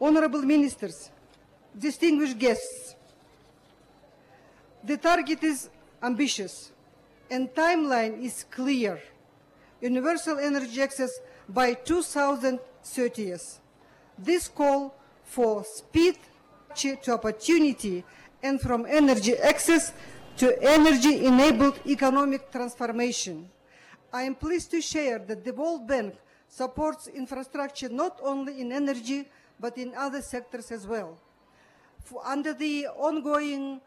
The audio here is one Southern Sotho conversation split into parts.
Honorable Ministers, distinguished guests, the target is ambitious and timeline is clear. Universal energy access by 2030. This call for speed to opportunity and from energy access to energy-enabled economic transformation. I am pleased to share that the World Bank supports infrastructure not only in energy, but in other sectors as well. Under the ongoing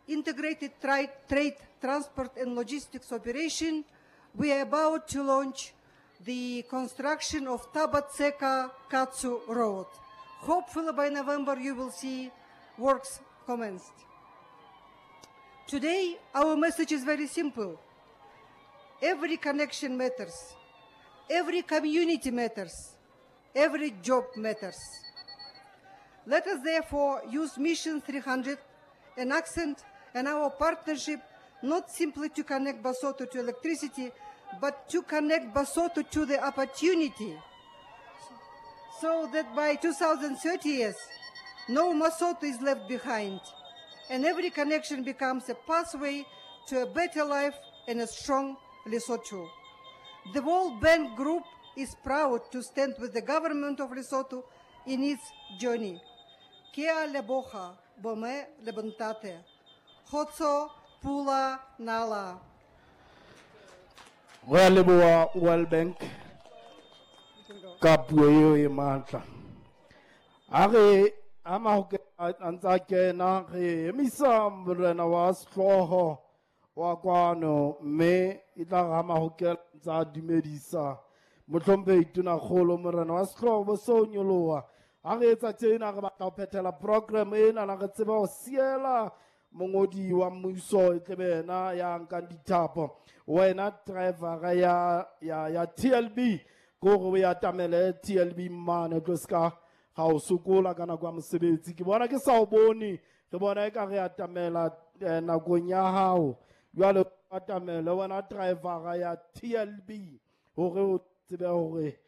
integrated trade, transport and logistics operation, we are about to launch the construction of Tabatseka-Katsu Road. Hopefully by November you will see works commenced. Today, our message is very simple. Every connection matters. Every community matters. Every job matters. Let us therefore use Mission 300 and accent and our partnership not simply to connect Basotho to electricity, but to connect Basotho to the opportunity, so that by 2030, no Mosotho is left behind, and every connection becomes a pathway to a better life and a strong Lesotho. The World Bank Group is proud to stand with the government of Lesotho in its journey. Kea leboha bome lebontate. Khotso pula nala. Re a leboha World Bank ka puo eo e matla. A re ama ho a ntsa kena re emisa morena wa sehlooho wa kwano, mme e tla re ama ho kena ntsa dumedisa mohlomphehi Tonakgolo morena wa sehlooho bo so nyoloha. Ha re etsa tjena re batla ho phethela program ena, na re tsebe ho siela mongodi wa mmuso e tlebe yena ya nkang dithapo. Wena driver ya TLB, ke hore o e atamele TLB mane, tlo ska ga o sokola ka nako ya mosebetsi. Ke bona ke sa o bone, re bona e ka re atamela nakong ya hao. Jwale o atamele wena driver ya TLB hore o tsebe hore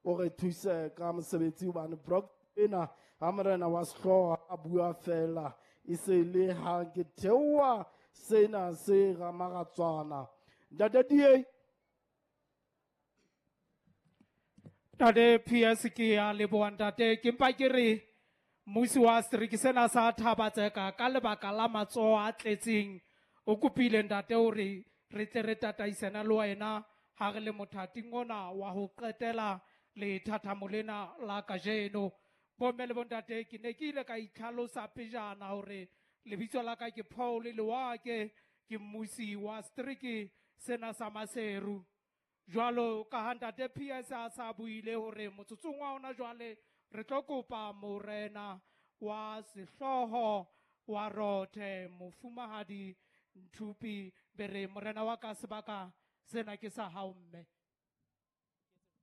o re thuse ka mosebetsi, hobane program ena ha morena wa sehlooho a bua fela e se le ha ke theoha sena se ramaratswana. Ntate DA. Ntate PS ke a leboha ntate, ke mpa ke re mmusi wa setereke sena sa Thaba-Tseka ka lebaka la matsoho a tletseng o kopile ntate hore re tle re tataisana le wena ha re le mothating ona wa ho qetela lethathamo lena la kajeno. Bomme le bontate, ke ne ke ile ka itlhalosa pejana hore lebitso la ka ke Paul Lewake, ke mmusi wa setereke sena sa Maseru. Jwalo ka ha ntate PS a sa buile hore motsotsong wa hona jwale re tlo kopa morena wa sehlooho wa Rothe mofumahadi Nthupi Bere. Morena wa ka, sebaka sena ke sa hao mme.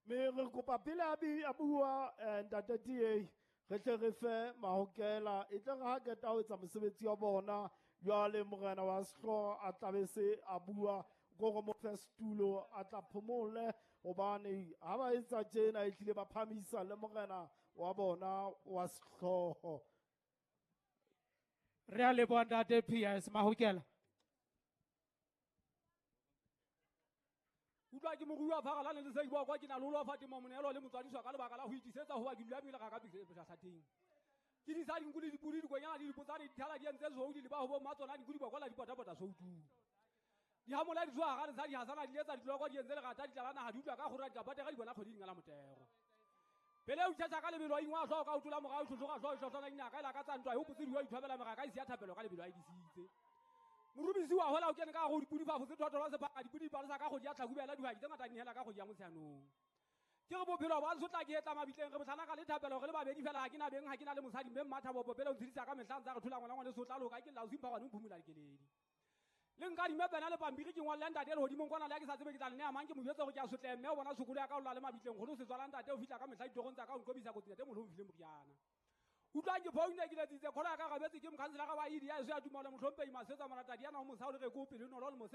Mme re kopa pele a bua, ntate DA, re tle re fe mahokela, e tle re ha qeta ho etsa mosebetsi wa bona, jwale morena wa sehlooho a tlabe se a bua, ko re mo fe setulo a tla phomole, hobane ha ba etsa tjena e hlile ba phamisa le morena wa bona wa sehlooho. Re a leboha ntate PS Mahokela. Utlwa ke morui wa Pharalane le Seibo kwa ke na le ho lofa temo monehelo le motswadiswa ka lebaka la ho itisetsa hoba ke dula pele ga ka pele. Ke di sa dinku le dipodi, dikonyana le dipotsane, dithala di entse soudi le ba ho bo mmatsona, dinku di bokola di potapota soutung. Di hamola di tswa ga re sa di hasana di etsa ditloko di entse lerata di tlala naha di utlwa ka kgora di ka patega di bona kgwedi di ngala motero. Pele o tjhatja ka lebelo a ingwa hlooho ka o tola morao, hlohloga hlooho, hlohlwana dinaka, e lakatsa ntwa, e hopotse diwa, ithwabela meraka, e siya thapelo ka lebelo a e disitse. Morubisi wa hola o kene ka go dipodi fa fotse thotho la sephaka, dipodi di palesa ka kgwedi ya Tlhakubele, dihwai tse ngata di nehela ka kgwedi ya Motsheanong. Ke re bophelo ba sotla ke etla mabitleng, re botlhana ka lethapelo, re le babedi fela, ha ke na beng, ha ke na le mosadi, mme mmathabopo pele o ntshedisa ka mehla, ntsa re thola ngwana ngwane sotla loka, ke lla o simpha gwane o mphumula dikeledi. Le nka dimepena le pampiri ke ngwalle ntate lehodimong kwana le ha ke sa tsebe ke tla le neha mang, ke mo jwetse hore ke a sotleha, mme o bona sokolo ya ka o lla le mabitleng, kgone ho se tswala ntate o fihla ka mehla ditorong tsa ka, o nqobisa kotsi ntate moholo o mfile moriana. Utlwang ke phone ke letsitse, kholo ya ka rabetse ke mokhanselara wa EDI, ya eso ya tumelo, mohlomphehi Masetsa Moratadi, yana ho mosadi o re ko pele, nolo le mose